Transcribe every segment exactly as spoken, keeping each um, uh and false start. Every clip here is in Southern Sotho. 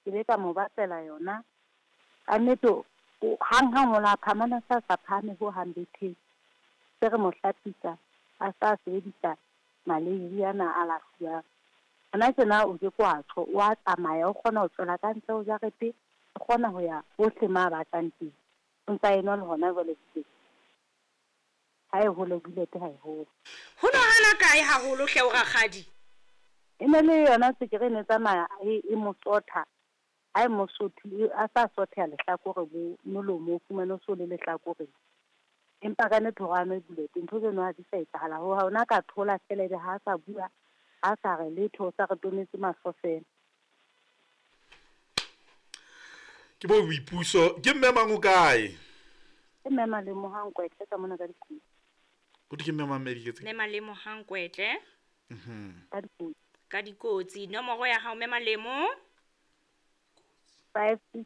Ke be ka mo batlela yona. Ka nnete hang-hang o la phamana sa sa phahame ho hang betheng. Se re mo hlapisa a sa sebedisa maleiri ana a lahluwang. Hona tjena o ke kwa tjho, o a tsamaya, o kgona ho tswela ka ntle ho jarete, o kgona ho ya hohle ma batlang teng. O ntsa enwa le hona jwale teng. Ha e hole bulete ha e hole. Ho no hana kae haholo hle o rakgadi? E ne le yona tswekere e ne tsamaya e e mo sotha. Ha e mo sothe, a sa sotheha lehlakore bo molomo o fumane o so le lehlakoreng. Empa ka nnete hore a nwe bulete ntho tseno ha di sa etsahala ho ha ona ka thola fela ebe ha sa bua, ha sa re letho, o sa re tonetse mahlo fela. Ke bo boipuso, ke mme mang o kae? Ke mme Malemohang Kwetle ka mona ka dikotsi. Ho ke mme mang mediketse? Mme Malemohang Kwetle. Mhm. Ka dikotsi. Ka dikotsi. Nomoro ya hao mme Malemo? five six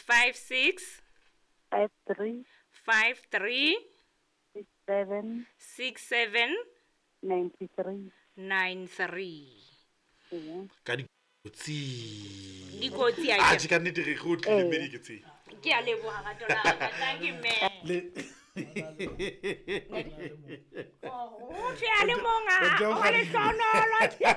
five six five three five three six seven six seven ninety three nine three. Ka dikotsi. Dikotsi a ke. A ka nnete re go tlile mediketse. Ke a leboha rato la ka. Thank you mme. Le O tle a le mong a o le hlonolo. Ke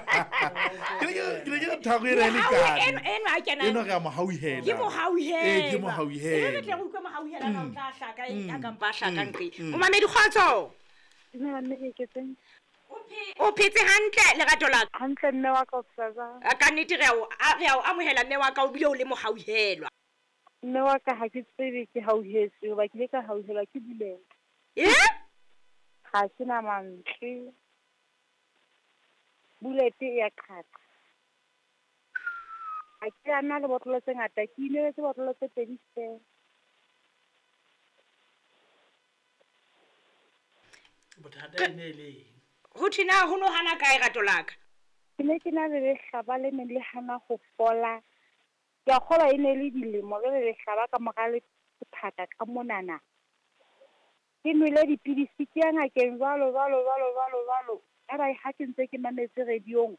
ke ke thabo e re le ka. Eno eno a kena. Eno re a mo hauhela. Ke mo hauhela. Eh ke mo hauhela. Re tle re utlwe mo hauhela na o tla hlaka e ka mpa hlaka nqe. O mamedi kgotso. Dumela mme ke tseng. O phetse hantle lerato la ka. Hantle mme wa ka o phela. Ka nnete re a re a o amohela mme wa ka o bile o le mo hauhelwa. Mme wa ka ha ke tsebe ke hauhetswe hoba ke ile ka hauhelwa ke bulele. Eh? Ha ke na mantswe. Bulete e ya qhaqa. Ha ke a na le botlolo tse ngata, ke inwetse botlolo tse pedi feela. Bothata e ne le eng? Ho thina ho no hana kae rato la ka? Ke ne ke na le lehlaba le neng le hana ho fola. Ke a kgolwa e ne le dilemo jwale lehlaba ka mora le phaka ka monana. Ke nwele dipidisi ke ya ngakeng jwalo jwalo jwalo jwalo jwalo. Aba ha ke ntse ke mametse radiong,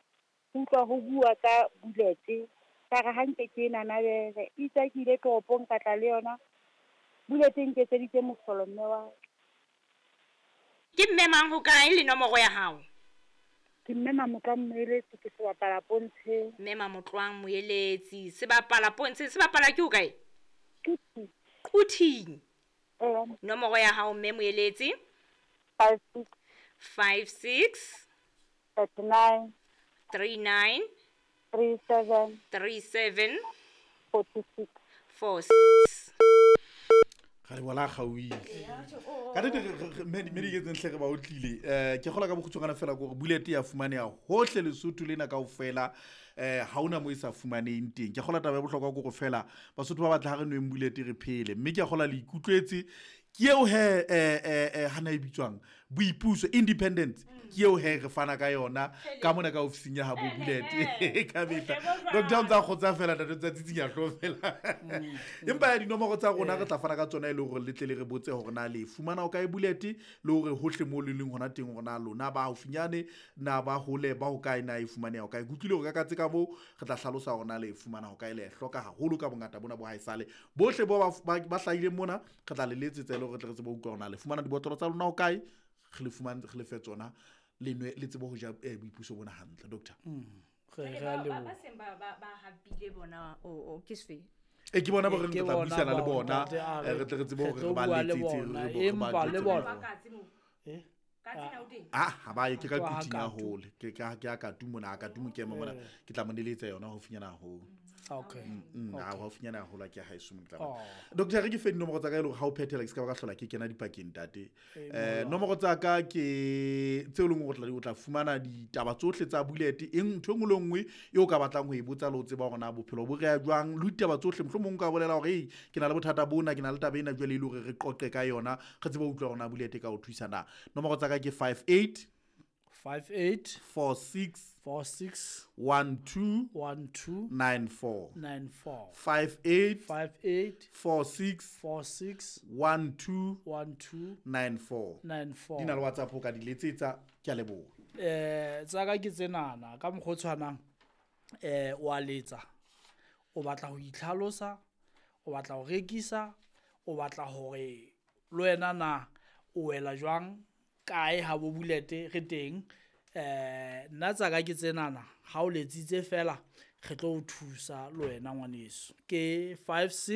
ke utlwa ho bua ka bulete. Ka re hanke ke ena nabele. Itse ke ile toropong ka tla le yona. Bulete e nketseditse mohlolo mme wa. Ke mme mang ho kae le nomoro ya hao? Ke mme Mamotlwang Moeletsi, ke sebapala pontsheng. Mme Mamotlwang Moeletsi, sebapala pontsheng, sebapala ke ho kae? Quthing. Quthing. Eh. Nomoro ya hao mme Moeletsi? five six five six thirty nine three nine three seven three seven forty six four six. Ga re bona gauile. Ka nnete mediketseng hle re ba otlile. Eh ke kgola ka bokgutshwana fela gore bulete ya fumaneha hohle Lesotho lena kaofela, eh ha ona mo e sa fumaneng teng. Ke kgola taba ya bohlokwa ke gore fela Basotho ba batla ha re nweng bulete re phele. Mme ke kgola le ikutlwetse ke eo he eh eh hana e bitswang boipuso independence, ke eo he re fana ka yona ka mona ka ofising ya ha bo bulete ka mehla. Doctor o ntsa kgotsa fela ntate tsa tsitsinya hlo fela. Empa ya dinomoro tsa rona re tla fana ka tsona e le hore le tle le re botse hore na le fumana o kae bulete le hore hohle mo le leng hona teng hore na lona ba haufinyane na ba hole ba ho kae na e fumaneha ho kae. Ke utlwile hore ka katse ka moo re tla hlalosa hore na le fumana ho kae le hloka haholo ka bongata bona bo haesale bohle bo ba ba hlahileng mona re tla le letsetsa le hore re tle re tsebe ho utlwa hore na le fumana dibotlolo tsa lona ho kae, re le fumane re le fe tsona le nwe le tsebe ho ja boipuso bona hantle. Doctor re re a leboha. Ba seng ba ba hapile bona o ke sefe? E ke bona bo re tla buisana le bona re tle re tsebe hore re ba letsetse re ba le bona. Eh ah ha ba ye ke ka kuting ya hole ke ka ke a ka tumo na ka tumo ke ema mona ke tla mo neletsa yona haufinyana haholo. Okay. Ah haufinyana haholo ke ha eso mo tla. Doctor re ke fe dinomoro tsa ka ile ha o phethela ke se ka ba ka hlola ke kena dipakeng ntate. Eh nomoro tsa ka ke tseo leng hore o tla fumana ditaba tsohle tsa bulete eng ntho engwe le nngwe e o ka batlang ho e botsa le ho tseba hore na bophelo bo re ya jwang le ditaba tsohle mohlomong ka bolela hore hey ke na le bothata bona ke na le taba ena jwale e le hore re qoqe ka yona re tsebe ho utlwa hore na bulete ka o thusa na. Nomoro tsa ka ke five eight five eight four six four six one two one two nine four nine four five eight five eight four six four six one two one two nine four nine four. Di na le WhatsApp o ka di letsetsa. Ke a leboha. Eh tsa ka ke tsenana ka mokgwa o tshwanang eh wa letsa O batla ho itlhalosa, o batla ho rekisa, o batla hore le wena na o wela jwang kae ha bo Bullet re teng. Eh nna tsaka ke tsenana ha o letsitse fela re tlo o thusa le wena ngwaneso. Ke five six